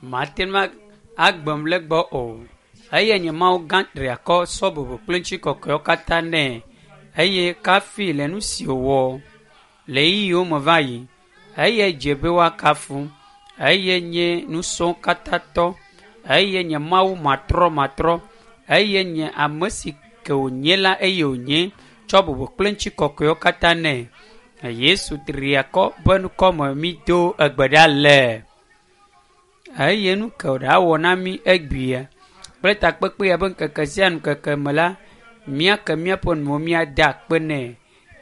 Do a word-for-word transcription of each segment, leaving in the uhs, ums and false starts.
Mate ŋu agbem le gbɔ o. Eye nye Mawu gã triakɔ sɔ bubu kple ŋutikɔkɔewo katã nɛ eye kafi le nu si wòwɔ le ɣeyiɣiwo me va yi. Eye dze be woakafu. Eye nye nusɔwo katã tɔ. Eye nye Mawu matrɔmatrɔ. Eye nye ame si ke wònye la eye wònye tsɔ bubu kple ŋutikɔkɔewo katã nɛ. Yesu triakɔ ƒe ŋkɔme mi do egbe ɖa le. Eye nu ke wòɖawɔ na mí egbea kple takpekpe ya be ŋkeke sia ŋkeke me la, míake míaƒe nuwo míade akpe nɛ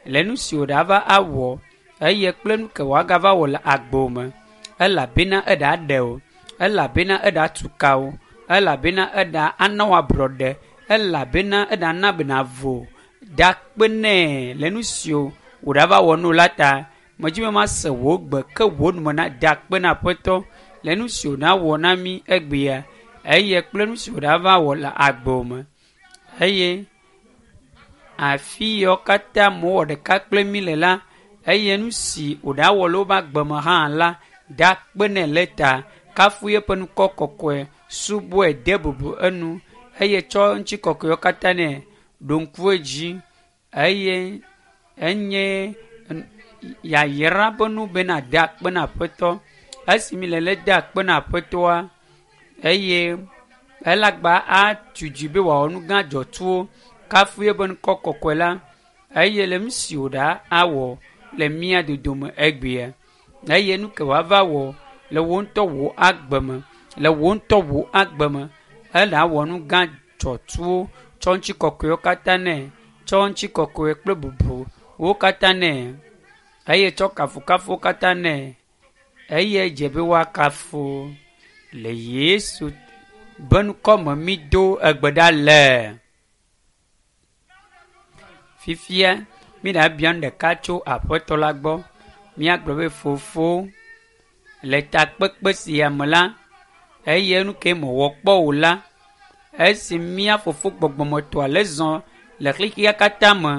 le nu si wòɖava awɔ eye kple nu ke wòagava wɔ le agbo me elabena eɖa ɖe o, elabena eɖa tu ka o, elabena eɖa ana wò ablɔɖe, elabena eɖa na bena vo. Da akpe nɛ le nu si wòɖava wɔ nu la ta. Medzi be mase wò gbe ke wò nume na da akpe na Aƒetɔ le nu si wòɖawɔ na mí egbea eye kple nu si wòɖava wɔ le agbo me eye afi yawo katã mewɔ ɖeka kple mí le la eye nu si wòɖawɔ le woƒe agbe me hã la da akpe nɛ le ta kafu eƒe ŋkɔ kɔkɔe subɔe de bubu enu eye tsɔ ŋutikɔkɔewo katã nɛ ɖo ŋku edzi eye enye yayra ƒe nu bena de akpe na Aƒetɔ. Esi mi le le de akpe na Aƒetɔa eye elagba atu dzi be wòawɔ nu gã dzɔtsuwo kafu eƒe ŋkɔ kɔkɔe la eye le nu si wòɖa awɔ le mía dodome egbea eye nu ke wòava wɔ le wò ŋutɔ wò agbe me le wò ŋutɔ wò agbe me ele awɔ nu gã dzɔtsuwo tsɔ ŋutikɔkɔewo katã nɛ tsɔ ŋutikɔkɔe kple bubu wo katã nɛ eye tsɔ kafukafuwo katã nɛ eye dze be woakafu le Yesu be ŋkɔme mi do egbe ɖa le. Fifia mi ɖa bia nu ɖeka tso Aƒetɔ la gbɔ. Míagblɔ be fofo le takpekpe sia me la eye nu ke mewɔ kpɔ o la esi mía fofo gbɔgbɔmetɔa le zɔ le xexea katã me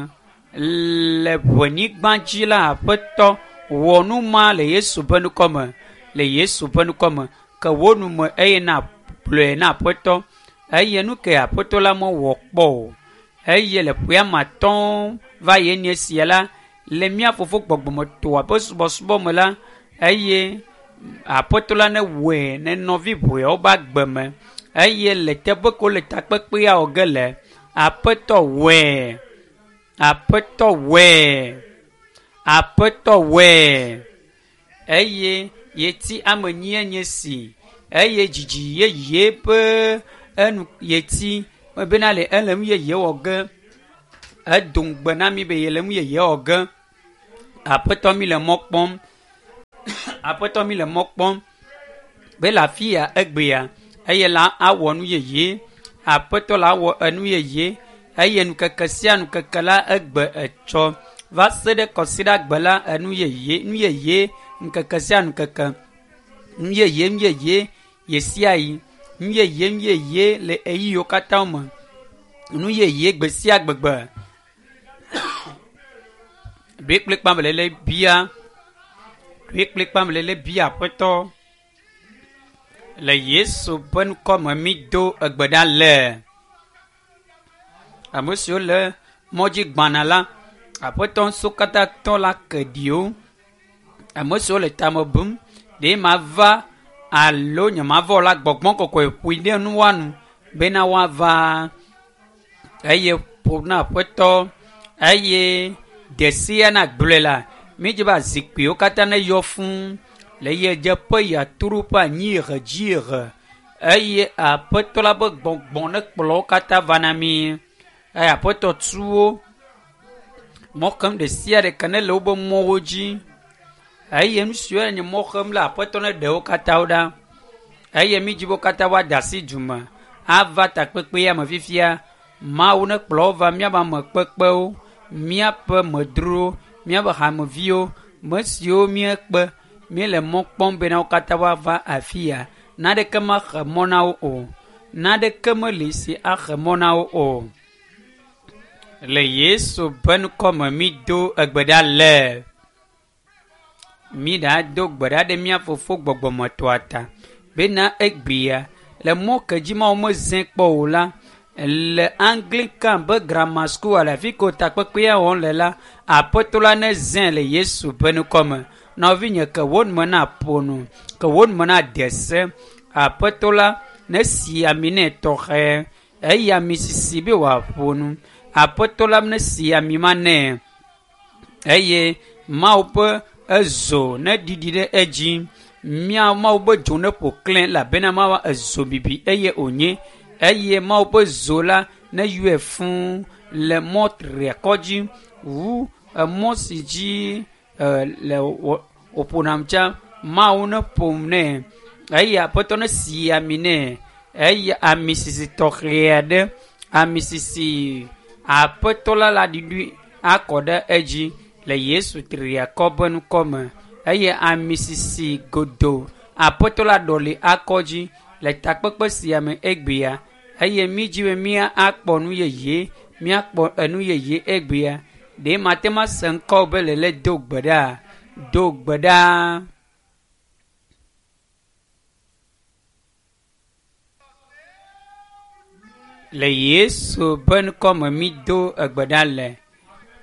le ʋenyigba dzi la Aƒetɔ wɔ nu ma le Yesu ƒe ŋkɔme le Yesu ƒe ŋkɔme ke wò nu me eye na gblɔe na Aƒetɔ eye nu ke Aƒetɔ la mewɔ kpɔ o eye le ƒea me atɔ̃ va yi enye sia la le mía fofo gbɔgbɔmetɔa ƒe subɔsubɔ me la eye Aƒetɔ la ne wɔe ne nɔvi ʋeawo ƒe agbe me eye le teƒe ke wole takpekpea wɔ ge le Aƒetɔ wɔe Aƒetɔ wɔe Aƒetɔ wɔe eye yeti ame enyie nye si eye dzidzi yeye ƒe enu yeti bena le ele nu yeye wɔ ge edo ŋugbe na mi be yele nu yeye wɔ ge Aƒetɔ mi le mɔ kpɔm Aƒetɔ mi le mɔ kpɔm be le afi ya egbea eye la awɔ nu yeye Aƒetɔ la awɔ enu yeye eye nukeke sia nukeke la egbe etsɔ va se ɖe kɔsiɖagbe la enu yeye nu yeye ŋkeke sia ŋkeke nu yeye nu yeye ɣe sia ɣi nu yeye nu yeye le ɣeyiɣiwo katã me nu yeye gbe sia gbegbe ɖoe kplikpa me lele bia ɖoe kplikpa me lele bia Aƒetɔ le Yesu ƒe ŋkɔme mi do egbe ɖa le. Ame siwo le mɔdzi gbana la Aƒetɔ ŋusẽ katã tɔ la ke ɖiwo. Ame siwo le tame bum ɖe mava alo nyemava o la gbɔgbɔ kɔkɔe ƒoe ɖe nua nu bena woava eye ƒo na Aƒetɔ eye ɖe sia na gblɔe la mídzi be zikpuiwo katã ne yɔ fũu le yedzeƒe yatoɖoƒe anyiehe dziehe eye Aƒetɔ la ƒe gbɔgbɔ ne kplɔ wo katã va na mí eye Aƒetɔ tu wo mɔ xem ɖe sia ɖe ke ne le woƒe mɔwo dzi eye nu siwo nye mɔ xem la Aƒetɔ ne ɖe wo katã wo ɖa eye mídzi be wo katã woade asi du me ava takpekpea me fifia Mawu ne kplɔ wo va míaƒe ame kpekpewo míaƒe medrowo míaƒe hameviwo me siwo míekpe míele mɔ kpɔm bena wo katã woava afi ya naneke mexe mɔ na wo o naneke meli si axe mɔ na wo o le Yesu ƒe ŋkɔme mi do egbe ɖa le. Mi ɖa do gbe ɖa ɖe mía fofo gbɔgbɔmetɔa ta Bena egbea le mɔ ke dzi Mawu mezẽ kpɔ o la, le Anglican be Grammar School le afi ke takpekpea wɔm le la, Aƒetɔ la nezẽ le Yesu ƒe ŋkɔme. Nɔvinye ke wo nume na ƒo nu, ke wo nume na de se. Aƒetɔ la nesi ami nɛ tɔxɛ eye ami sisi be wòaƒo nu. Aƒetɔ la nesi ami ma nɛ eye Mawu ƒe ezo neɖiɖi ɖe edzi. Mía Mawu ƒe dzo neƒo klẽ elabena Mawu ezo bibi eye wònye eye Mawu ƒe zo la neyɔe fũu le mɔ triakɔ dzi wu emɔ si dzi e, le wòƒonam tsã. Mawu neƒom nɛ eye Aƒetɔ nesi ami nɛ eye ami sisi tɔxɛ aɖe, ami sisi Aƒetɔ la la ɖiɖi akɔ ɖe edzi le Yesu triakɔ ƒe ŋkɔme eye ami sisi godo Aƒetɔ la ɖɔli akɔ dzi le takpekpe sia me egbea eye mi dzi be mía akpɔ nu yeye, míakpɔ enu yeye egbea. Ɖe mate ŋu ase ŋkɔ be lele do gbe ɖa, do gbe ɖa. Le Yesu ƒe ŋkɔme mi do egbe ɖa le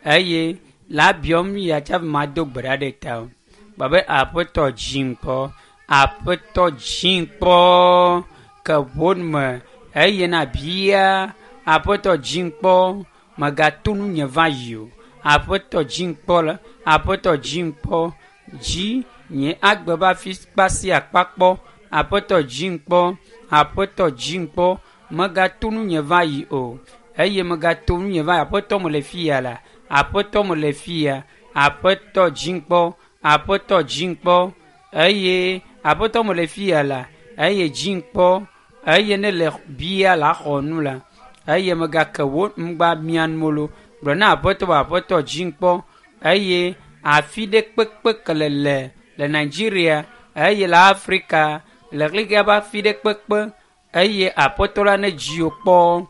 eye la biɔm ya tsaƒe mado gbe ɖa ɖe ta o. Gba be Aƒetɔ dzim kpɔ, Aƒetɔ dzim kpɔ ke ʋɔnume eye na bia Aƒetɔ dzim kpɔ megato nunye va yi o. Aƒetɔ dzim kpɔ la, Aƒetɔ dzim kpɔ dzi nye agbe be afi kpa sia akpa kpɔ. Aƒetɔ dzim kpɔ, Aƒetɔ dzim kpɔ megato nunye va yi o eye megato nunye va yi. Aƒetɔ mele fia la, Aƒetɔ mele fia. Aƒetɔ dzim kpɔ, Aƒetɔ dzim kpɔ eye Aƒetɔ mele fia la eye dzim kpɔ eye ne le bia la xɔ nu la eye megake wo ŋgba mia nu gblɔ na Aƒetɔ be Aƒetɔ dzim kpɔ eye afi ɖe kpekpe ke le le le Nigeria eye le Afrika le xexea ƒe afi ɖe kpekpe eye Aƒetɔ la ne dzi wò kpɔ.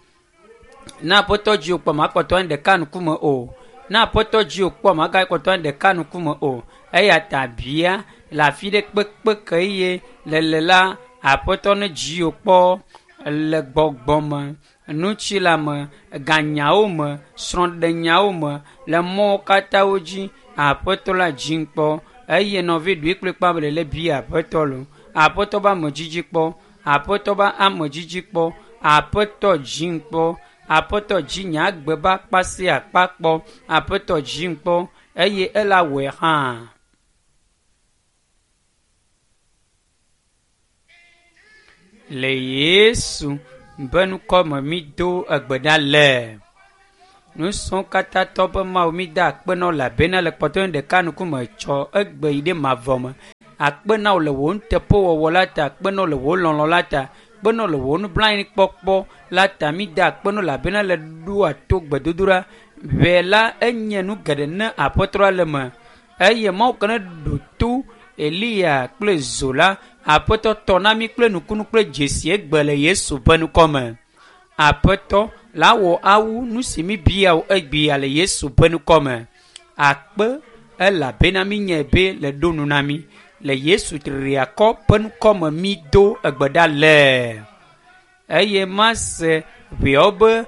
Ne Aƒetɔ dzi wò kpɔ makpɔtɔ anyi ɖeka ŋkume o. Ne Aƒetɔ dzi wò kpɔ magakpɔtɔ anyi ɖeka ŋkume o. Eya ta bia le afi ɖe kpekpe ke eye le le la Aƒetɔ ne dzi wò kpɔ le gbɔgbɔ me, ŋutilã me, ganyawo me, srɔ̃ɖenyawo me, le mɔwo katãwo dzi Aƒetɔ la dzim kpɔ eye nɔvi ɖoe kplikpa be lele bia Aƒetɔ lo. Aƒetɔ be amedzidzi kpɔ, Aƒetɔ be amedzidzi kpɔ, Aƒetɔ dzim kpɔ, Aƒetɔ dzi nye agbe be akpa sia akpa kpɔ, Aƒetɔ dzim kpɔ eye ela wɔe hã. Le Yesu ƒe ŋkɔme mi do egbe ɖa le. Nusrɔ̃wo katã tɔ be Mawu mi da akpe na wò elabena le kpɔtɔe ɖeka ŋkume tsɔ egbe yi ɖe mavɔ me. Akpe na wò le wò nuteƒewɔwɔ la ta, akpe na wò le wò lɔlɔ̃ la ta, akpe na wò le wò nublanuikpɔkpɔ la ta. Mi da akpe na wò elabena le ɖoa to gbedodoɖa. Ʋe la enye nu geɖe ne Aƒetɔ la le eme eye Mawu ke ne ɖo to Eliya kple zo la, Aƒetɔ tɔ na mi kple nukunu kple dzesi egbe le Yesu ƒe ŋkɔme. Aƒetɔ la wɔ awu nu si mi bia wò egbea le Yesu ƒe ŋkɔme. Akpe elabena mi nye be le ɖo nu na mi le Yesu triakɔ ƒe ŋkɔme mi do egbe ɖa le. Eye mase ʋeawo be